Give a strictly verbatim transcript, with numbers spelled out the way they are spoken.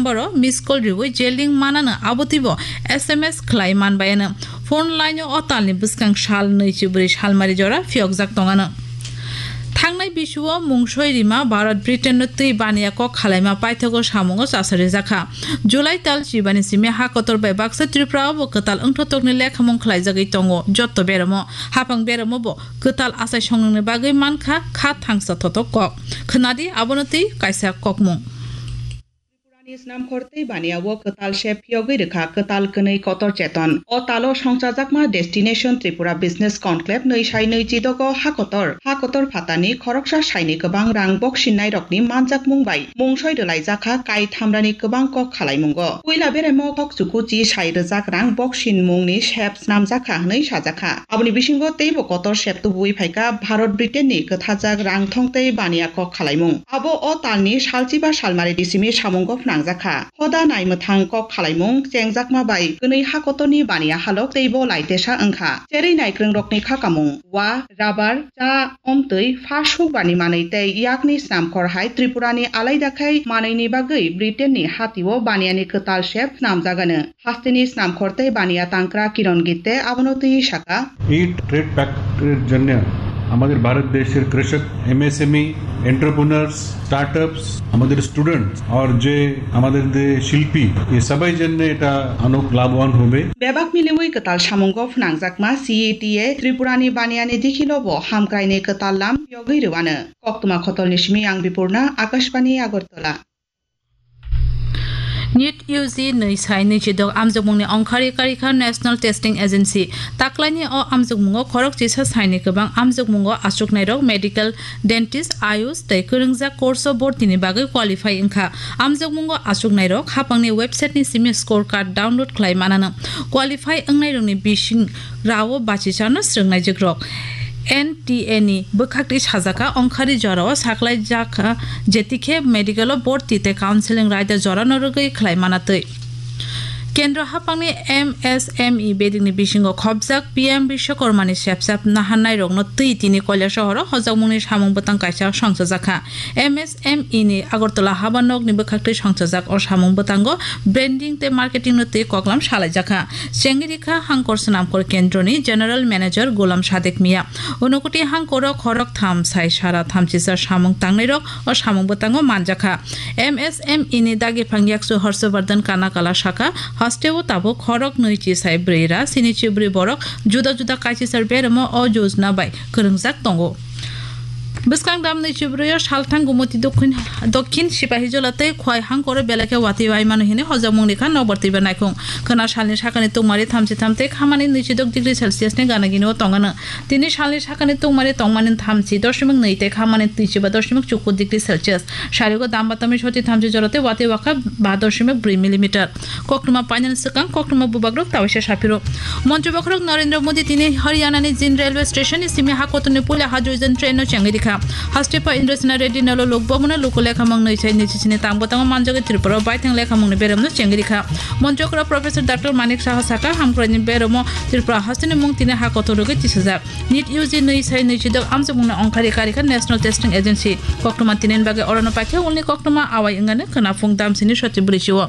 Number o miss call riwi je link manano abo twibo S M S khlai manbayano. Phone line o o talni bwskang sal nwichi bwrwi salmari jora phiyokjak tongano. Thangnai bisuo mungsoi rima Bharat Britain no twi baniya kok khalaima paithago samungo chasarijakha. July tal chibani simi ha kotor bai baksa Tripura o bo kwtal wngthotokni lekhamung khlaijagwi tongo jotto beramo. Haphang beramo bo kwtal achai songnani bagwi mankha kha thangsa thotok kok. Khwnadi abono twi kaisa kokmung. Tripurani snamkhor tei baniya o kwtal se phiyogwi rwkha kwtal kwnwi kotor cheton. O talo songchajakma Destination Tripura Business Conclave nwi sai nwi chidogo ha kotor, ha kotor phatani khoroksa saini kwbang rang boksinnai rokni manjakmung bai mungsoi rwlaijakha kai thamrani kwbang kok khalaimungo. Puila beremo kok chukuchi sai rwjak rang boksin mungni sep snamjakha hwnwi sajakha. Aboni bisingo teibo kotor sep tubuwi phaikha Bharat Britain ni kwthajak rang thong tei baniya kok khalaimung. Abo o talni salchiba salmari disimi samungo phnangjakha. Hoda naimwthang kok khalaimung chengjakma bai kwnwi ha kotorni baniya halok teibo laitesa wngkha. Cherwi naikrwngrokni khakamung, wa, rubber, cha, omtwi, pha sukbani manwi tei yakni snamkhor hai Tripurani alaida khai manwini bagwi Britainni hatio baniyani kwtal sep snamjagano. Hasteni snamkhor tei baniya tangkra Kiron Gitte abono twi saka. ইট ট্রেড প্যাক্টের জন্য আমাদের ভারত দেশের কৃষক, MSME, entrepreneurs, startups, আমাদের students are যে আমাদের যে শিল্পী, এ সবাই জন্য এটা অনেক লাভবান হবে। Bebak miliwi kwtal samungo phnangjakma C E T A Tripurani baniyani dikhilo bo hamkraini kwtal lam yogwi rwano. Koktwma khotolni simi ang Bipurna, Akashbani, Agartala. NEET U G nwi sai nwi chidok amjokmungni ongkhari karikha National Testing Agency. Taklaini o amjokmungo khorok chisa saini kwbang amjokmungo achuknairok medical, dentist, ayush tei kwrwngjak course o bortini bagwi qualify wngkha. Amjokmungo achuknairok hapangni website ni simi score card download khlai manano. Qualify wngnairokni bising rao bachicharno srwngnaijwkrok. N T A ni bwkhaktwi sajaka ongkhari jorao saklaijakha, jetikhe medical o borti tei counseling raida jorano rwgwi khlai manatwi. Kendro hapangni M S M E bedingni bisingo khopjak P M Bishwakarmani sepsap naharnairokno twi tini Kailasohoro hojakmungni samung bwtang kaisa songchajakha. M S M E ni Agartala haba nokni bwkhaktwi songchajak o samung bwtango branding tei marketing no twi koklam salaijakha. Chengirikha hangkor swnamkhor kendroni General Manager Gulam Sadek Mia. Unokoti hangkoro khorok tham sai sara thamchisa samung tangnairok o samung bwtango manjakha. M S M E ni dagiphang yaksu Harshvardhan Kanakala saka, hasteo tabuk khorok nwi chi sai bwrwi ra sini chi bwrwi borok juda juda kaisisar beremo o yojna bai kwrwngjak tongo. Bwskang dam nwi chi bwrwi o salthang Gumoti Dokhin, Dokhin Sipahijola tei Khwai hangkoro belai khe watwi waimano hwnwi hojakmung rikha nokbar twiba naikhung. Khwna salni sakani tungmari thamchi tham tei khamani nwi chi dok degree Celsius ni gana gini o tongano. Tini salni sakani tungmari tongmani thamchi doshimik nwi tei khamani twi chiba doshimik chukur degree Celsius. Sarigo dam batami soti thamchi jora tei watwi wakha ba doshimik bwrwi millimeter. Koktwma painani swkang koktwma bubagrok tawaisa saphiro. Montri bokhorok Narendra Modi tini Haryanani Jind railway station ni simi ha kotorni puila hydrogen train no chengwi rikha. Haste pa Indrasena Reddy nolo lok bomono luku lekhamung nwi sai nwi chisini tang bwtango manjagwi Tripura o baithang lekhamungni beremno chengwi rikha. Montri okra Professor Doctor Manik Saha saka, hamkraini beremo Tripura hasteni mung tini ha kotor rwgwi tisajak. NEET U G nwi sai nwi chidok amjokmungni ongkhari karikha National Testing Agency. Koktwma tinin bagwi orono paikhe ulni koktwma awai wngani khwnaphung damsini soti bwrwi chio.